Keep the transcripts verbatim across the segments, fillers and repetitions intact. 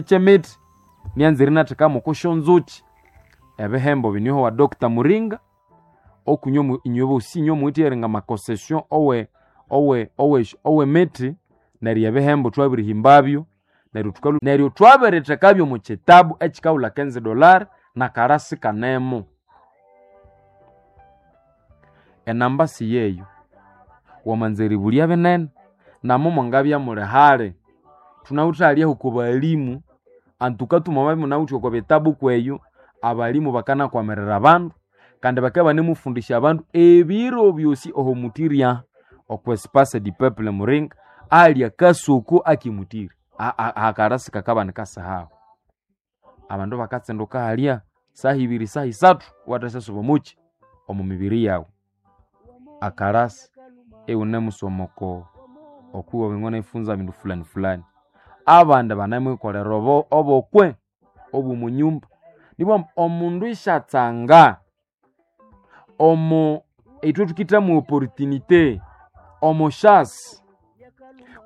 Ky'emiti nyanzire inathekamu oko syonzuki ebihembo binyoho wa Doctor Muringa okunywa inywe bosi inywe muwithe eringa ama concession owe owe owe ow'emiti neryo ebihembo twabirihimbabyo neryo thukalhu neryo twabirithekabyo omu kitabu ekikawulha quinze dollar n'akalasi kanemu. Enamba siyeyo, wamanza eribulya binene namo mwangabya muli hali thunawithe halyaho oko balimu antuka mwamabya imunawithe oko bitabu kweyo abalimu bakanakwamirira abandu kandi bakabya ibanemufundisya abandu ebiro byosi oho mutirya okwa espace du peuple Muringa ahali akasoko akemutiri ahakalasi kakabanika sihaho. Abandu bakatsinduka halya saha ibiri saha isathu iwathasyasuba omukyi omu mibiri yawu. Akalasi iwunemusoma oko okwiwe ifunza bindu fulani fulani. Abandi banemwikolera obo obokwe obw'omunyumba nibwamba omundu isyatsanga omo ithwe thukithamu opportunité omo chance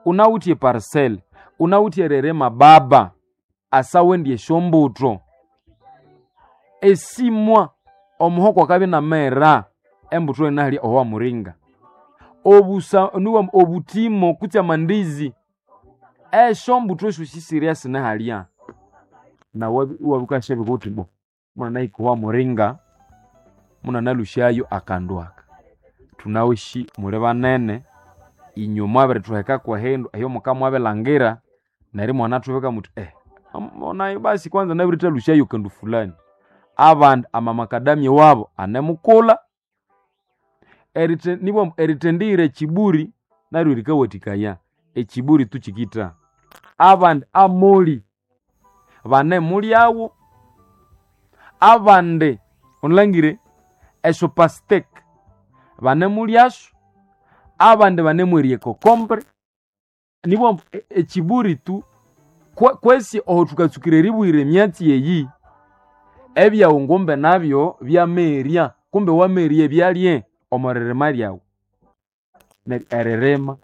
unawithe eparcelle unawithe eririma baba asawendya esyombutho esimwa omuhoko akabya inamera embutho inahalya owa Muringa obusa niwamba obuthimo kutse amandizi esyombutho esyosi sirya sinahalya nawu iwabya wukasyabika wuthi bo munanahika owa Muringa munanalhusyayo akandu aka. Thunawisi muli banene inywe mwabirithweheka kwehindu eyo mukamwabilangira neryo imwanathubika muthi eh nayi basi kwanza nabirithalhusyayo kandu fulani. Abandi amamakadamia wabo anemukulha nibwamba erithendihira ekiburi naryo rikawathikaya ekiburi tu kikitha. Abandi amoli banemulyawo abandi wunalangire esyo pasteke banemulyasyo abandi banemwerya ecocombure nibwamba ekiburi tu kwesi oho thukatsukira eribwira emyatsi eyi ebyawu ngumbe nabyo byamerya kumbe wamerya ebyalye omo ririma lyawu. Neryo eririma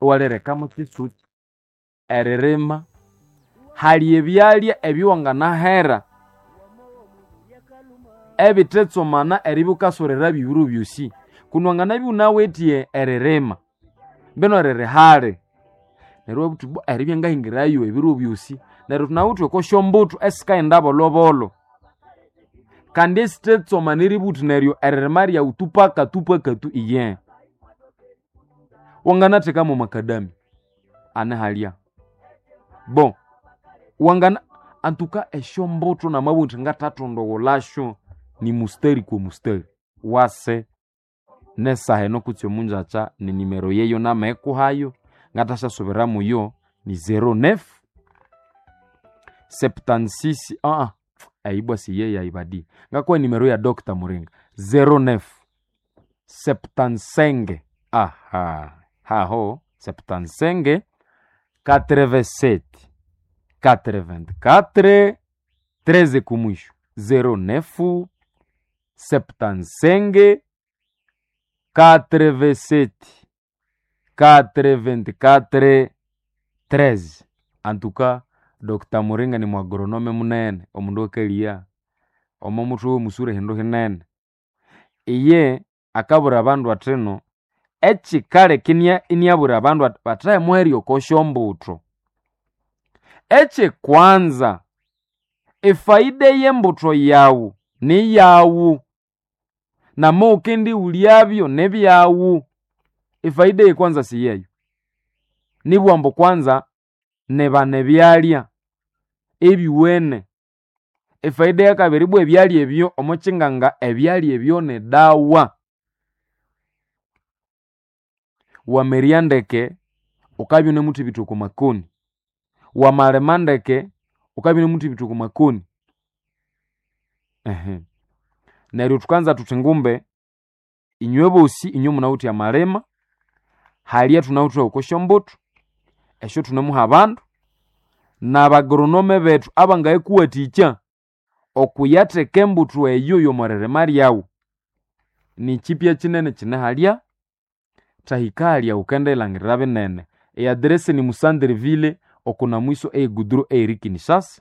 iwalirekamu kyisukyi eririma hali ebyalya ebyowanganahera ebithetsomana eribya wukasorerabyo ebiro byosi kundi wanganabya iwunawithe eririma mbino riri hali neryo iwabugha wuthi bwa eribya ngahingirayo ebiro byosi neryo thunawithe oko syombutho esikaghenda bolhobolho kandi esithetsomana eribugha wuthi neryo eririma lyawu tu paka tu paka tu iye. Wanganathekamu makadamia ane halya bo wangana antuka esyombutho namabugha indi ngathathondogholasyo ni mustari kwa mustari wase nesaha eno kutse omungyakya nenimero yeyo namahikuhayo ngatasyasubiramuyo ni zero neuf septante-six aa eyi ibwa siyeyayi badi ngakuha enimero ya Doctor Muringa zero neuf septante-cinq aha haho septante-cinq quatre-vingt-sept quatre-vingt-quatre treize kumwisho zero neuf septante-cinq quatre-vingt-sept quatre-vingt-quatre treize. Antuka Doctor Muringa ni muagronome munene omundu akaliya omo muthwe w'omusura ehindu hinene. Iye akabwira abandu athino ekikaleka iniabwira abandu athi bathahemuherya oko syombutho. Ekyikwanza efaida ey'embutho yawu niyawu nama wukendiwulyabyo nibyawu efaida ey'ekwanza siyeyo. Nibugha ambu kwanza nibana ebyalya ebyuwene. Efaida eyakabiri ibwa ebyalya ebyo omo kyinganga ebyalya ebyo ni dawa. Wamerya ndeke wukabya iwunemuthibitha oko makoni, wamalima ndeke wukabya iwunemuthibitha oko makoni. Ehe neryo thukanza thuthi ngumbe inywe bosi inywe munawithe amalima halya thunawithe oko syombutho esyo thunemuha abandu n'abagoronome bethu abangayikuwathikya okuyatheka embutho eyo y'omo ririma lyawu. Nikyipya kinene kine halya thahika halya wukendilangirira binene. E address ni Musandreville. Okuna mwiso eyeguduro eyiri Kinshasa.